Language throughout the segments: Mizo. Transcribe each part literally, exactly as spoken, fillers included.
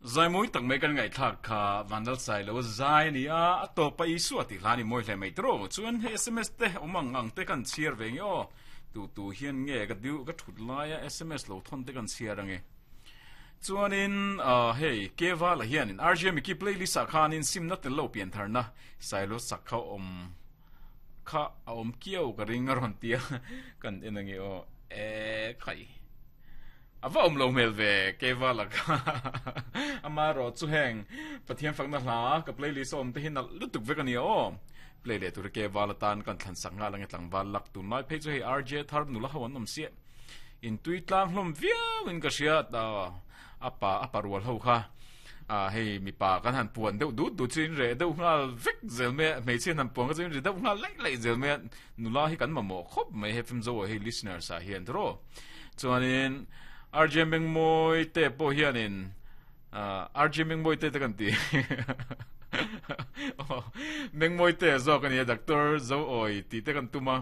Zai mawi tak mai kan ngaihthlak kha Vanlalsailo zai a ni a, a tawpa Isua tih hla a ni mawi hle mai tawh. Chuan hei sms te awm ang ang te kan chhiar ve nge aw. Tu tu hian nge ka diu ka thut laia sms lo thawn te kan chhiar ange. Chuanin hei Kevala hianin R J Mickey playlist ah khanin simna tel lo pian tharna Sailo sak kha awm kha a awm kiau ka ring a rawn tia kan en ange aw. E khai. A va awm lo hmel ve Kevala kha. Amaherawh chu heng Pathian fakna hla ka playlist a awm te hi nalh lutuk vek a nia aw. Play leh tur Kevala tan kan thlan sak nghal ange tlangval lak tunlai phei chu hei R J thar nula ho an awm siah. Intui tlang hlawm viau in ka hria a pa a pa rual ho kha hei mipa kan han puan deuh dut dut chu in reh deuh nghal vek zel mai a, hmeichhia han puan kha chu in ri deuh nghal laih laih zel mai a, nula hi kan mamawh khawp mai he film zo ah hei listeners ah hian tawh chuanin R J Mengmawi te pawh hianin R J Mengmawi te te kan ti Mengmawi te zawk a ni a Doctor Zoawi tih te kan tum a.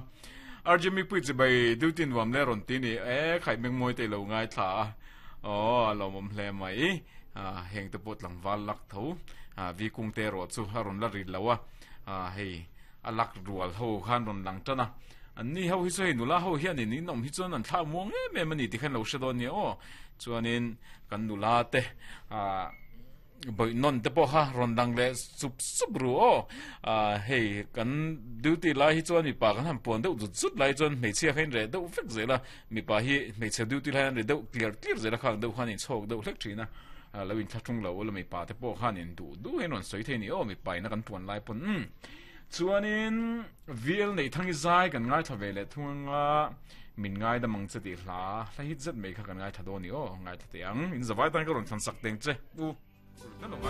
R J Mipui chibai duty nuam le rawn ti ni e khai Mengmawi te lo ngaithla a aw a lawmawm hle mai heng te pawh tlangval lak tho vi kung te erawh chu a rawn la rit lo a hei a lak rual ho khan rawn lang tan a an ni ho hi chu hei nula ho hianin in awm hi chuan an thlak muang em em a ni tikhan lo hre dawn nia aw chuanin kan nula te ah Bawih nawn te pawh kha rawn dang leh sup sup ru aw. Hei kan duty lai hi chuan mipa kan han puan deuh zut zut lai chuan hmeichhia kha in reh deuh vek zel a, mipa hi hmeichhe duty lai an ri deuh tliar tliar zel a khang deuh khan in chhawk deuh hlek thin a, lo inthlahrung lo ula mipa te pawh khan in duh duh hian rawn sawi thei a ni aw mipa ina kan puan lai pawn umm. Chuanin V L Neihthang i zai kan ngaithla ve leh thung anga min ngaidam ang che tih hla hla hit zet mai kha kan ngaithla dawn i aw ngaithla teh ang in zavai tan ka rawn thlan sak teng che u.